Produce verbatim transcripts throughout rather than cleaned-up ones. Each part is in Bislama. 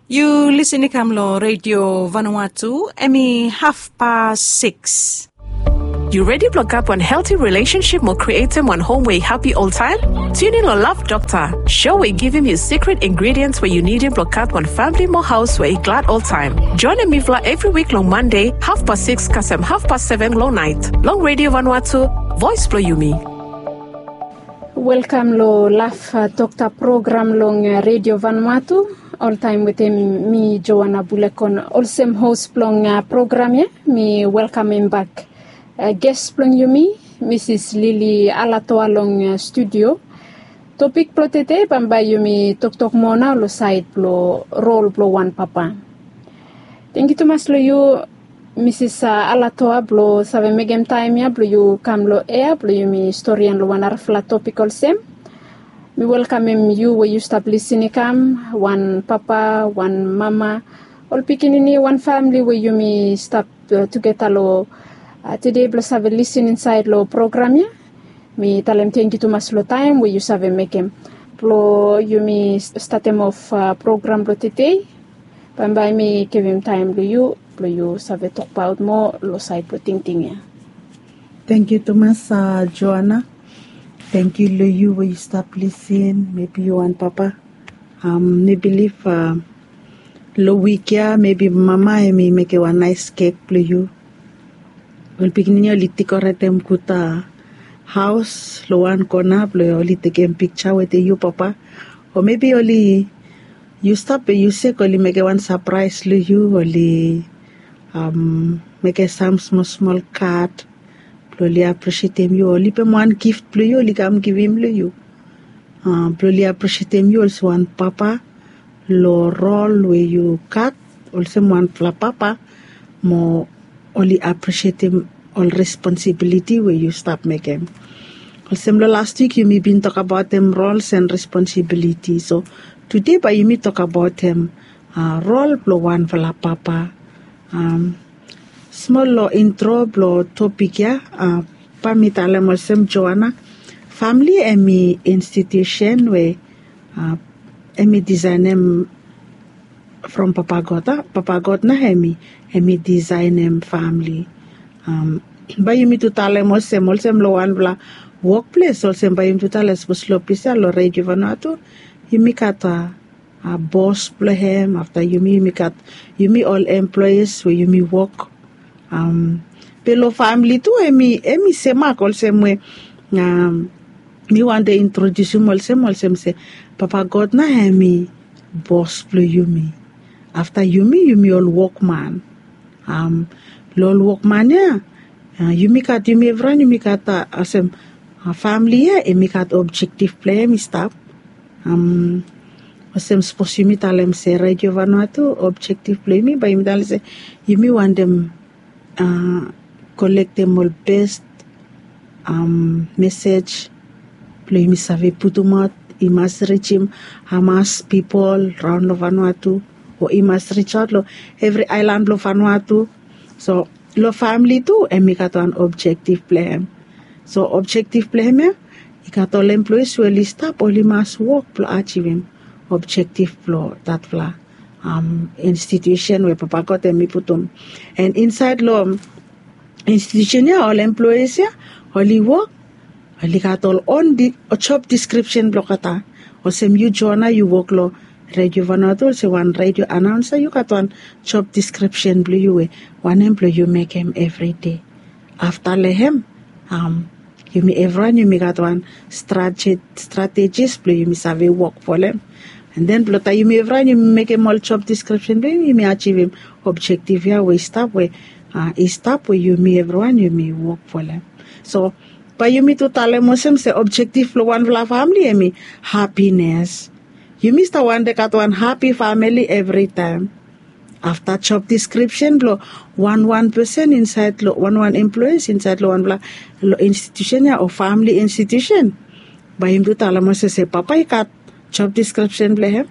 Yu lisin i kam long Redio Vanuatu, em i hafpas sikis. Yu redi blong gat wan helti relationship mo krietem wan hom we i hapi oltaem? Tune in long Love Doctor, show we i givim yu secret ingredients we yu nidim blong gat wan famili mo haos we i glad oltaem. Joinem mifala evri wik long Mande, hafpas sikis kasem hafpas seven long naet, long Redio Vanuatu, voes blong yumi. Welkam long Love Doctor program long Redio Vanuatu. Oltaem wetem mi, Joana Bulekon, olsem hos blong program ya. Mi welkamem bak ges blong yumi, Misis Lili Alatoa, long studio. Topik blong tede, bambae yumi toktok moa nao long saed blong rol blong wan papa. Tangkiu tumas long yu, Misis Alatoa, blong save mekem taem ya blong yu kam long ea blong yumi storian long wan narafala topik olsem. Mi welkamem yu we yu stap lisin i kam, wan papa, wan mama, ol pikinini, wan famili we yumi stap tugeta long tede blong save lisin insaed long program ya. Mi talem tangkiu tumas long taem we yu save mekem blong yumi statem of program blong tede. Bambae mi givim taem blong yu blong yu save tokbaot moa long saed blong tingting ya. Tangkiu tumas, Joana. Tangkiu long yu we yu stap lisin, mebi yu wan papa. Mi bilif long wik ya mebi mama hemi mekem wan naes kek blong yu. Ol pikinini oli dekoretem gud haos long wan kona blong oli tekem pikja wetem yu papa. O mebi oli, yu stap we yu sek, oli mekem wan sapraes long yu, oli mekem sam smol smol kad blong oli aprisietem yu, oli pem wan gif blong yu, oli kam givim long yu blong oli aprisietem yu olsem wan papa long rol we yu gat olsem wanfala papa, mo oli aprisietem ol responsibiliti we yu stap mekem. Olsem long las wik yumi bin tokbaotem rols and responsibiliti, so tude bae yumi tokbaotem rol blong wanfala papa. Smol long intro blong topik ya, bae mi talem olsem, Joana, famili hemi institusen we hemi disaenem from Papa God. Papa God nao hemi, hemi disaenem famili. Bae yumi tu talem olsem, olsem long wanfala wokples, olsem bae yumi tu talem sapos long ples ya long Redio Vanuatu, yumi gat bos blong hem, afta yumi, yumi gat, yumi ol employes we yumi wok. Be long famili tu hemi, hemi semak olsem we mi wantem introdiusim olsem, olsem se Papa God nao hemi bos blong yumi. Afta yumi, yumi ol wokman. Long ol wokman ya, yumi gat, yumi evriwan yumi gat, olsem, famili ya hemi gat objektif blong hem i stap. Olsem sapos yumi talem se Redio Vanuatu, objektif blong yumi, bae yumi talem se yumi wantem kolektem ol bes mesej blong yumi save putumaot, i mas rijim hamas pipol raon long Vanuatu, o i mas rijaot long evri aelan blong Vanuatu. So long famili tu hemi gat wan objektif blong hem. So objektif blong hem ya, i gat ol employes we oli stap, oli mas wok blong ajivim objektif blong datfala institusen we Papa God hemi putum. And insaed long institusen ya, ol employes ya oli wok, oli gat ol on job deskripsen blong olgeta. Olsem yu Joana, yu wok long Redio Vanuatu olsem wan redio anaonsa, yu gat wan job deskripsen blong yu we wanem blong yu mekem evri dei. Afta long hem, yumi evriwan yumi gat wan stratejis blong yumi save wok folem. And then blong taem yumi evriwan yumi mekem ol job deskripsen blong yumi, yumi ajivim objektif ya we i stap, we i stap we yumi evriwan yumi wok folem. So bae yumi tu talem olsem se objektif blong wanfala famili hemi hapines. Yumi stap wantem gat wan hapi famili evritaem. Afta job deskripsen blong wanwan pesen insaed long, wanwan employes insaed long wanfala, long institusen ya o famili institusen, bae yumi tu talem olsem se papa i gat job deskripsen blong hem.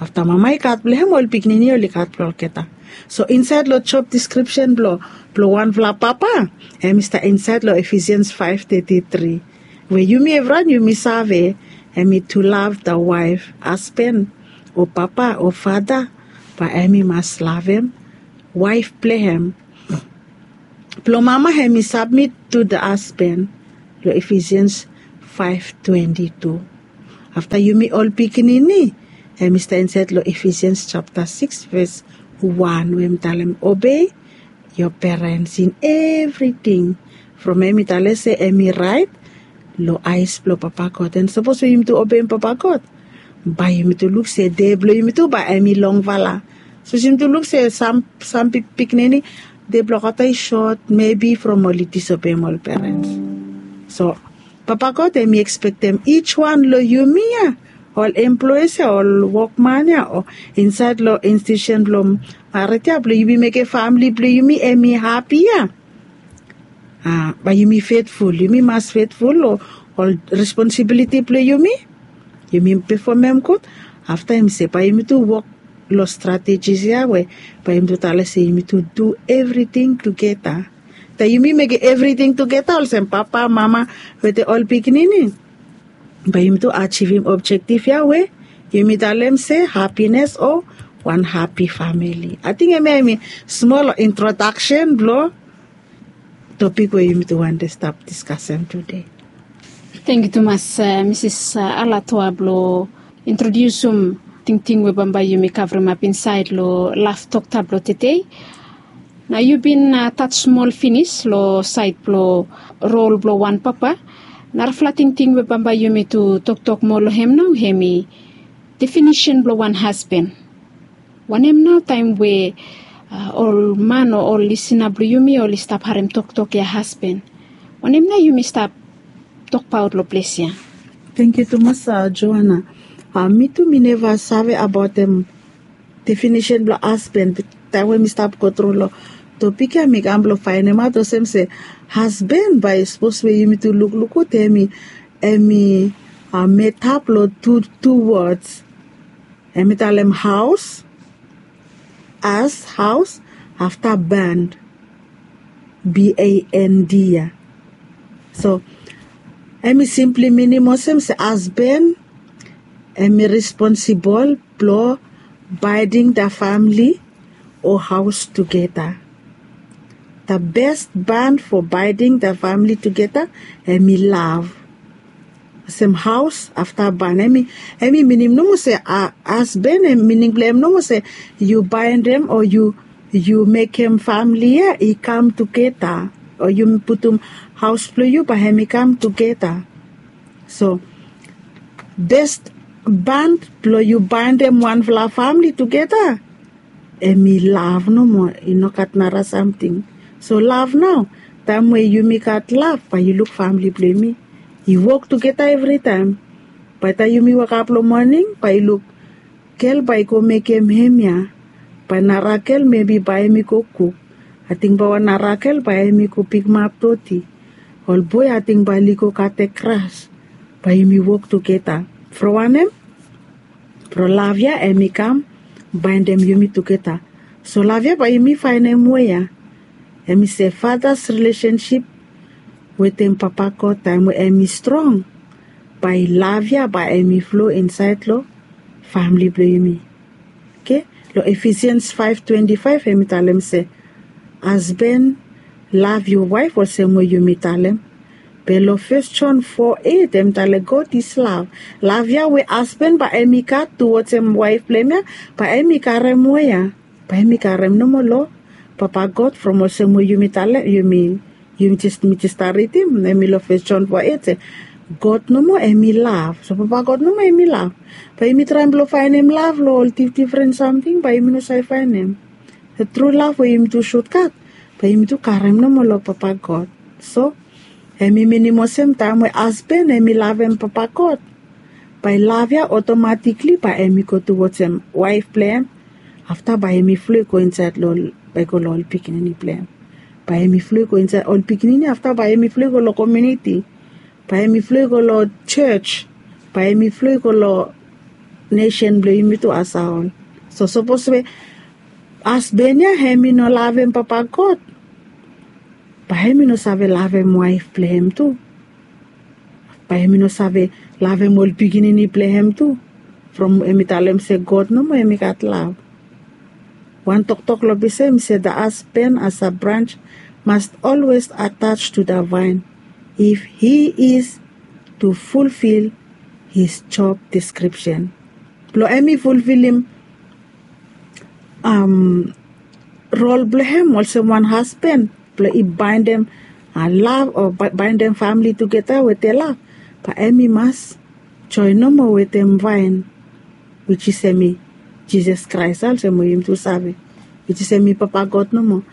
Afta mama i gat blong hem, ol pikinini oli gat blong olgeta. So insaed long job deskripsen blong, blong wanfala papa, hemi stap insaed long Efesians faef teti tri, we yumi evriwan yumi save, hemi to love the wife, hasben o papa o fata Bae hem i mas lavem waef blong hem. Blong mama hem i sabmit tu da hasban. Long Efesians faef twenti tu. Afta yumi ol pikinini, hem i stap insaed long Efesians japta sikis ves wan we hem i talem, obei yo perens in evriting. From hem i talem se hem i raet long aes blong Papa God. An sapos we yumi tu obeim Papa God, bae yumi tu luk se de blong yumi tu bae hem i longfala. Sapos yumi tu luk se sam pikinini, de blong olgeta i sot, mebi from oli disobeim ol perens. So Papa God hem i ekspektem ij wan long yumi ya, ol employes ya, ol wokman ya, o insaed long institusen blong mared ya, blong yumi mekem famle blong yumi hem i hapi ya. Bae yumi fetful, yumi mas fetful long ol responsibiliti blong yumi. Yumi pefomem gud. Afta hem i se bae yumi tu wok long stratejis ya we bae yumi tu talem se yumi tu du evriting tugeta. Taem yumi mekem evriting tugeta olsem papa, mama wetem ol pikinini, bae yumi tu ajivim objektif ya we yumi talem se hapines o wan hapi famili. Ating hemia hem i smol introdaksen blong topik we yumi tu wantem stap diskasem tude. Tangkiu tumas, Misis Alatoa, blong introdiusim tingting we bambae yumi kavremap insaed long laf toktok blong tede. Nao yu bin tach smol finis long saed blong rol blong wan papa. Narafala tingting we bambae yumi tu toktok moa long hem nao hem i definisen blong wan hasban. Wanem nao taem we ol man o ol lisina blong yumi oli stap harem toktok ya hasban? Wanem nao yumi stap tokbaot long ples ya? Tangkiu tumas, Joana. Mi tu mi neva save abaotem definisen blong hasban. Taem we mi stap gotru long topik ya mi kam blong faenemaot olsem se hasban, bae sapos we yumi tu lukluk gud, hem i metap long tu wods. Hem i talem haos, as haos, afta band, B A N D ya. So hem i simpli minim olsem se hasban hem i responsibol blong baeding da famli o haos tugeta. Da bes band fo baeding da famli tugeta hem i lav. Olsem haos afta band, hem i minim nomo se hasban, mining blong hem nomo se yu baendem o yu mekem famli ya i kam tugeta, o yu putum haos blong yu bae hem i kam tugeta. So bes band blong yu baendem wanfala famli tugeta hem i lav nomo, i no gat nara samting. So lav nao, taem we yumi gat lav bae yu luk famli blong yumi i wok tugeta evritaem. Bae taem yumi wokap long moning bae yu luk gel bae i go mekem hemia, bae nara gel mebi bae hem i go kuk. Ating bae wan nara gel bae hem i go pikimap doti. Ol boe ating bae oli go katem gras. Bae yumi wok tugeta. From wanem? From lav ya hem i kam baendem yumi tugeta. So lav ya bae yumi faenem we ya. Hem i se fadas rilesensip wetem Papa God taem we hem i strong, bae lav ya bae hem i flo insaed long famli blong yumi. Oke. Long Efesians faef twenti faef hem i talem se, hasban, lav yu waef olsem we yumi talem. Be long Fes Jon fo eit hem i talem God is lav. Lav ya we hasban bae hem i gat tuwodsem waef blong hem ya, bae hem i karem we ya. Bae hem i karem nomo long Papa God from olsem we yumi talem, yumi, yumi jes, mi jes stap ridim, hem i long Fes Jon fo eit se God nomo hem i lav. So Papa God nomo hem i lav. Bae yumi traem blong faenem lav long ol difdifren samting, bae yumi no save faenem. Tru lav we yumi tu sutgat, bae yumi tu karem nomo long Papa God. So hem i minim olsem taem we hasban hem i lavem Papa God, bae lav ya otomatikli bae hem i go tuwodsem waef blong hem. Afta bae hem i flo i go insaed long, bae i go long ol pikinini blong hem. Bae hem i flo i go insaed ol pikinini, afta bae hem i flo i go long komuniti. Bae hem i flo i go long jos. Bae hem i flo i go long nesen blong yumi tu asaol. So sapos we hasban ya hem i no lavem Papa God, bae hem i no save lavem waef blong hem tu. Bae hem i no save lavem ol pikinini blong hem tu. From hem i talem se God nomo hem i gat lav. Wan toktok long ples ya hemi se, the husband as a branch must always attach to the vine if he is to fulfill his job description. Blong hemi fulfilim rol blong hem olsem wan hasban blong i baindem lav o baindem famili tugeta wetem lav, bae hem i mas joen nomo wetem vaen, wis is hemi Jisas Kraes, olsem we yumi tu save, wis is hemi Papa God nomo.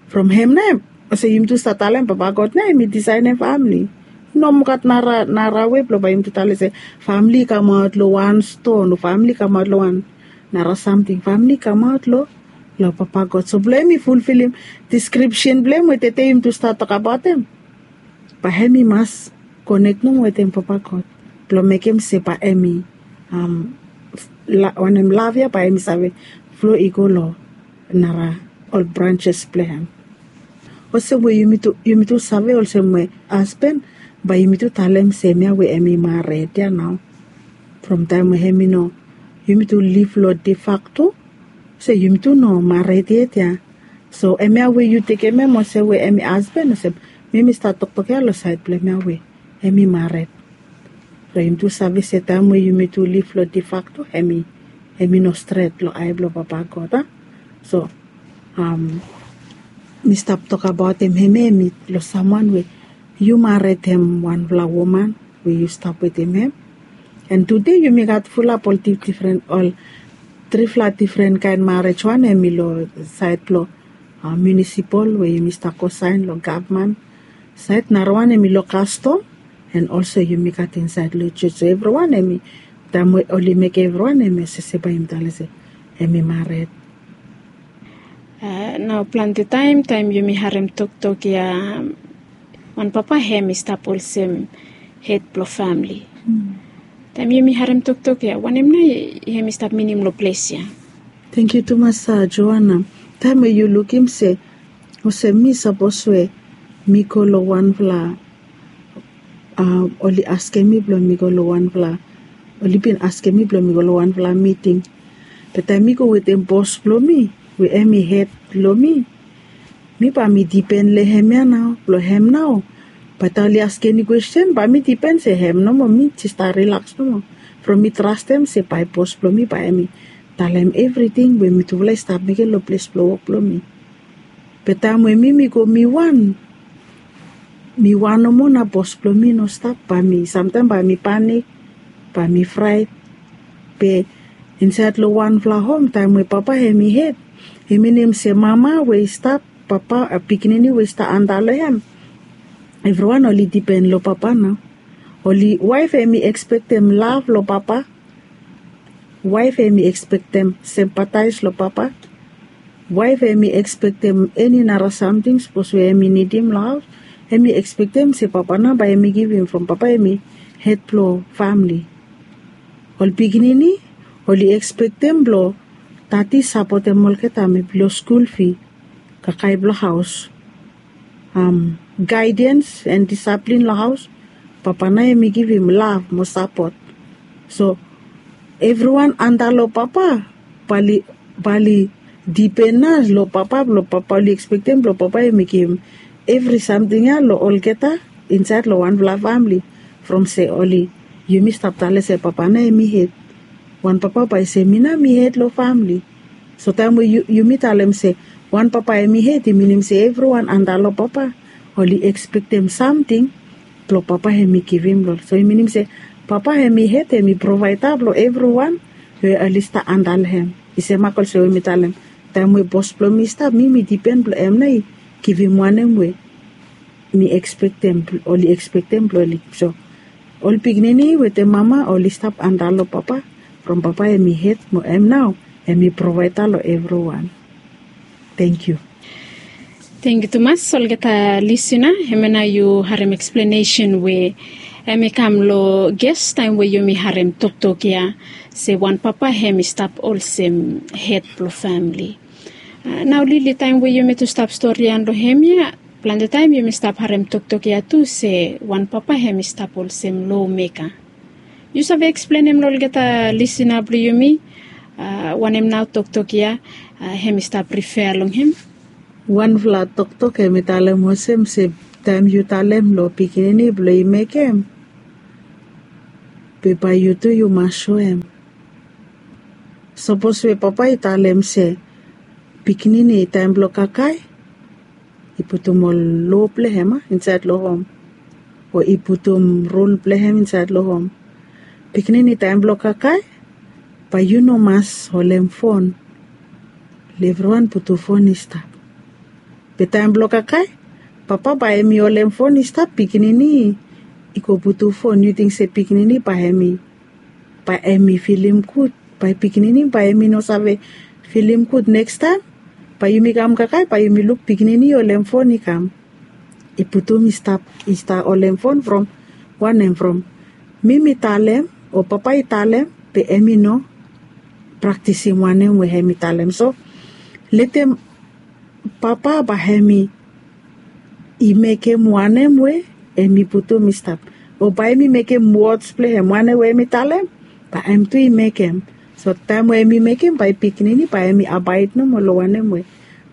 From hem nao, olsem yumi tu save talem Papa God nao hemi disaenem famili. I no moa gat nara wei blong bae yumi tu talem se famili i kamaot long wan ston o famili i kamaot long wan nara samting. Famili i kamaot long Papa God. So blong hem i fulfilim deskripsen blong hem we tede yumi tu save tokabaotem, bae hem i mas konek nomo wetem Papa God blong mekem se bae hem i wanem, lav ya bae hem i save flo i go long nara ol branses blong hem. Olsem we yumi tu save olsem we hasban, bae yumi tu talem se hemia we hem i mared ya nao. From taem we hem i no, yumi tu liv long de facto, se yumi tu no mared yet ya. So hemia we yu tekem hem olsem we hem i hasban, olsem mi mi stap toktok ya long saed blong hemia we hem i mared. Blong yumi tu save se taem we yumi tu liv long de facto, hem i no stret long ae blong Papa God. So mi stap tokabaotem hemia, hem i long samwan we yu maretem wanfala woman we yu stap wetem hem. An tude yumi gat fulap ol difdifren, ol trifala difren kaen marej. Wan hem i long saed blong munisipol we yumi stap go saen long gavman saed, narawan hem i long kastom, an olso yumi gat insaed long jos. So evriwan hem i, taem we oli mekem evriwan hem i save se bae yumi talem se hem i mared. Nao plante taem, taem yumi harem toktok ya, wan papa hem i stap olsem hed blong famili. Taem yumi harem toktok ya, wanem nao hem i stap minim long ples ya? Tangkiu tumas Joana. Taem we yu lukim se olsem mi sapos we mi go long wanfala, oli askem mi blong mi go long wanfala, oli bin askem mi blong mi go long wanfala miting. Be taem mi go wetem bos blong mi we hem i hed long mi, mi bae mi dipen long hemia nao, blong hem nao bae taem oli askem eni kwesten bae mi dipen se hem nomo, mi jes stap rilaks nomo. From mi trastem se bae bos blong mi bae hem i talem evriting we mitufala i stap mekem long ples blong wok blong mi. Be taem we mi mi go mi wan, mi wan nomo, na bos blong mi no stap, bae mi samtaem bae mi panik, bae mi fraet. Be insaed long wanfala hom, taem we papa hem i hed, i minim se mama we i stap, papa, pikinini we i stap anda long hem, evriwan oli dipen long papa nao. Oli, waef hem i ekspektem lav long papa, waef hem i ekspektem simpataes long papa, waef hem i ekspektem eni nara samting sapos we hem i nidim long haos, hem i ekspektem se papa nao bae hem i givim, from papa hem i hed blong famili. Ol pikinini oli ekspektem blong dadi sapotem olgeta, mebi long skul fi, kakae blong haos, gaedens an disaplin long haos, papa nao hem i givim lav mo sapot. So evriwan anda long papa bae oli dipen nao long papa, blong papa, oli ekspektem blong papa hem i givim evri samting ya long olgeta insaed long wanfala famili. From se oli, yumi stap talem se papa nao hem i hed. Wan papa bae i se mi nao mi hed long famili. So taem we yumi talem se wan papa hem i hed, i minim se evriwan anda long papa oli ekspektem samting blong papa hem i givim long. So i minim se papa hem i hed, hem i provaeda blong evriwan we oli stap anda long hem. I semak olsem we mi talem, taem we bos blong mi i stap, mi mi dipen blong hem nao i givim wanem we mi ekspektem, oli ekspektem blong oli givim. So ol pikinini wetem mama oli stap anda long papa, from papa hem i hed mo hem nao hem i provaeda long evriwan. Tangkiu. Tangkiu tumas olgeta lisina. Hemia nao yu harem eksplenesen we hem i kam long ges taem we yumi harem toktok ya se wan papa hem i stap olsem hed blong famili. Nao Lili, taem we yumi tu stap storian long hemia, plante taem yumi stap harem toktok ya tu se wan papa hem i stap olsem lomeka. Yu save eksplenem long olgeta lisina blong yumi Wanem nao toktok ya hem i stap rifea long hem? Wanfala toktok hem i talem olsem se taem yu talem long pikinini blong i mekem, be bae yu tu yu mas soem. Sapos we papa i talem se pikinini taem blong kakae i putum ol loa blong hem a insaed long hom, o i putum rul blong hem insaed long hom. Pikinini taem blong kakae bae yu no mas holem fon. Long evriwan putum fon i stap. Be taem blong kakae papa bae hem i holem fon i stap, pikinini i go putum fon, yu ting se pikinini bae hem i bae hem i filim gud? Bae pikinini bae hem i no save filim gud. Nekstaem bae yumi kam kakae bae yumi luk pikinini i holem fon i kam, i putum i stap, i stap holem fon from wanem? From mi mi talem o papa i talem, be hem i no praktisim wanem we hem i talem. So letem papa bae hem i mekem wanem we hem i putum i stap. O bae hem i mekem wods blong hem, wanem we hem i talem bae hem tu i mekem. So taem we hem i mekem bae pikinini bae hem i abaed nomo long wanem we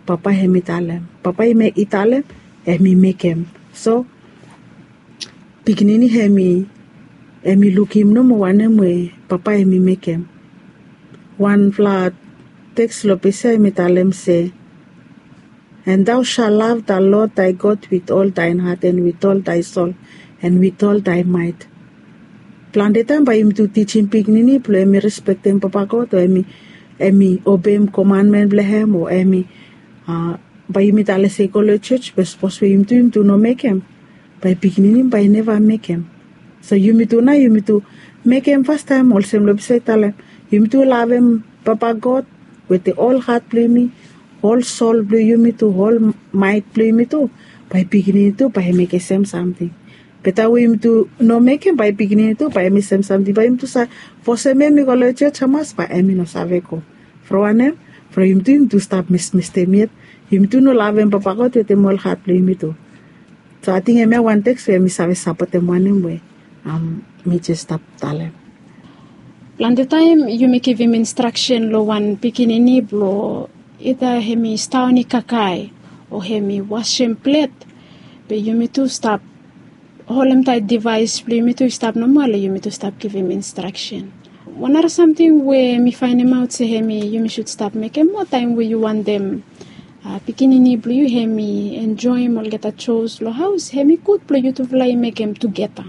papa hem i talem. Papa i talem hem i mekem. So pikinini hem i lukim nomo wanem we papa hem i mekem. Wanfala teks long ples ya hem i talem se, "And thou shalt love the Lord thy God with all thine heart, and with all thy soul, and with all thy might." Plante taem bae yumi tu tijim pikinini blong hem i respektem papa God, o hem i obeim komanmen blong hem, o hem i bae yumi talem se i go long jos, be sapos we yumi tu yumi tu no mekem, bae pikinini bae i neva mekem. So yumi tu nao yumi tu mekem fastaem olsem long ples ya i talem, yumi tu lavem papa God wetem ol hat blong yumi, ol sol blong yumi tu, ol maet blong yumi tu, bae pikinini tu bae i mekem sem samting. Be taem we yumi tu no mekem, bae pikinini tu bae hem i sem samting, bae yumi tu save fosem hem i go long jos, hamas bae hem i no save go. From wanem? From yumi tu yumi tu stap mesmestem yet. Yumi tu no lavem papa God wetem ol hat blong yumi tu. So ating hemia wan teks we hem i save sapotem wanem we mi jes stap talem. Plante taem yumi givim instraksen long wan pikinini blong ida hem i staon i kakae o hem i wasem plet, be yumi tu stap holemtaet divaes blong yumi tu i stap nomo, long yumi tu stap givim instraksen. Wan nara samting we mi faenemaot se hem i yumi sud stap mekem moa taem we yu wantem pikinini blong yu hem i enjoem olgeta jos long haos, hem i gud blong yutufala i mekem tugeta.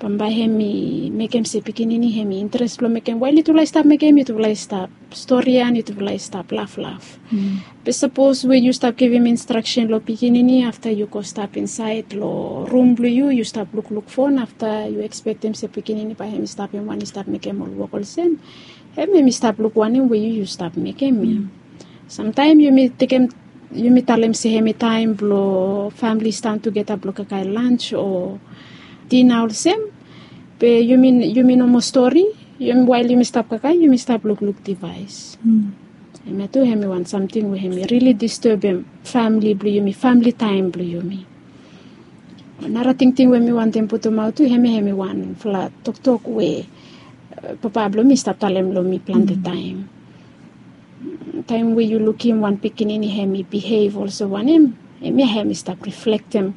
Bambae hem i mekem se pikinini hem i interes blong mekem, wael yutufala i stap mekem, yutufala i stap storian, yutufala i stap laflaf. Be sapos we yu stap givim instraksen long pikinini, afta yu go stap insaed long rum blong yu, yu stap lukluk fon, afta yu ekspektem se pikinini bae hem i stap hem wan i stap mekem ol wok olsem, hem hem i stap luk wanem we yu yu stap mekem ya. Samtaem yumi tekem, yumi talem se hem i taem blong famle i stap tugeta blong kakae lans o dina olsem, be yumi nomo stori, wael yumi stap kakae yumi stap lukluk divaes. Hemia tu hem i wan samting we hem i rili distebem famle blong yumi, famle taem blong yumi. Nara tingting we mi wantem putumaot tu, hemia hem i wanfala toktok we papa blong mi i stap talem long mi plante taem. Taem we yu lukim wan pikinini hem i bihev olsem wanem, hemia hem i stap riflektem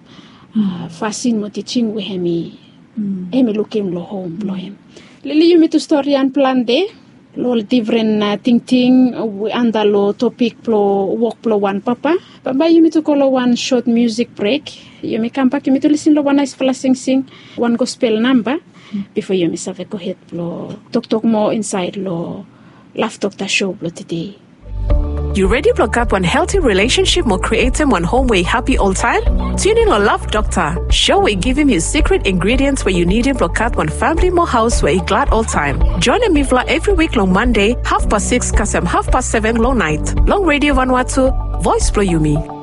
fasin mo tijing we hem i lukim long hom blong hem. Lili yumi tu storian plante long ol difren tingting we antap long topik blong wok blong wan papa. Bambae yumi tu go long wan sot musik brek. Yumi kambak yumi tu lisin long wan naesfala singsing, wan gospel namba, bifo yumi save gohed blong toktok moa insaed long Love Doctor show blong tede. Yu redi blong gat wan helti rilesensip mo krietem wan hom we i hapi oltaem? Tiunin long Love Doctor, show we i givim yu sikret ingredients we yu nidim blong gat wan famle mo haos we i glad oltaem. Joenem mifala evri wik long Mande hafpas sikis kasem hafpas seven long naet long Radio Vanuatu, Voes blong Yumi.